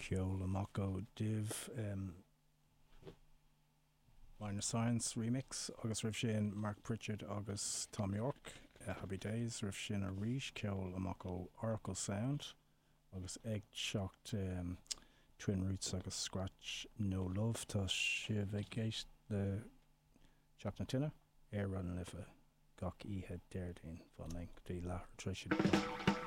Ceol amach ó Div, Minor Science Remix agus roimh sin Mark Pritchard agus Thom Yorke, Happy Days, roimh sin arís ceol amach ó Oracle Sound agus ag teacht Twin Roots agus Scratch No Love. Tá sibh ag éisteacht le Teach na Tine ar Raidió na Life gach oíche Déardaoin. Fan linn go dtí leathuair tar éis a 10.